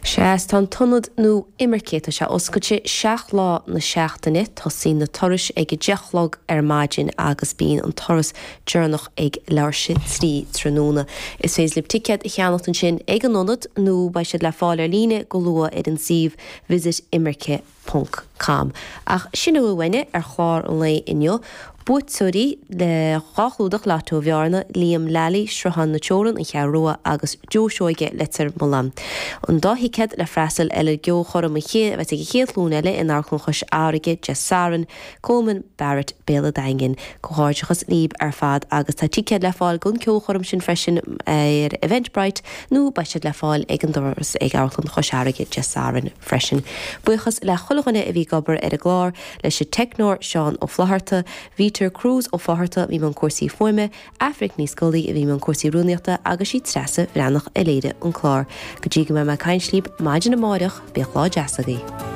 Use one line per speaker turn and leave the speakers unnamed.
Sea, is tá an t-ionad nó Imirce, tá sé oscailte 7 lá na seachtaine, tosaíonn na turais ag 10 a chlog ar maidin agus bíonn an turas deireanach ag leathuair tar éis a 3 tráthnóna. Is féidir libh ticéad a cheannacht ansin ag an ionad nó beidh siad le fáil ar líne go luath ar an suíomh visitimirce. ponc com. Ach sin a bhfuil uainne ar chlár an lae inniu. Buaiteoirí le 2 chlúdach Lotto Bhearna, Liam Lally, Sruthán na Teorann, An Cheathrú Rua agus Joe Seoige, Leitir Mealláin. An dá thicéad le freastal ar an gceolchoirm an chéad a bheas ag an Chéad Ghlúin Eile in Amharclann Chois Fharraige Dé Sathairn, Coleman Barrett, Béal an Daingin. Comhghairdeachas libh ar fad agus tá ticéid le fáil don ceolchoirm sin freisin ar Eventbrite nó beidh siad le fáil ag an doras ag Amharclann Chois Fharraige Dé Sathairn freisin. Buíochas le chuile dhuine a bhí ag obair ar an gclár, leis an teicneoir Seán Ó Flaithearta, Vítear Cruise Ó Fátharta a bhí i mbun cúrsaí fuaime, Aifric Ní Scolaí a bhí i mbun cúrsaí rúnaíochta agus sí Treasa Bhreathnach a léirigh an clár. Go dtí go mbeidh mé ag caint libh maidin amáireach, bíodh lá deas agaibh.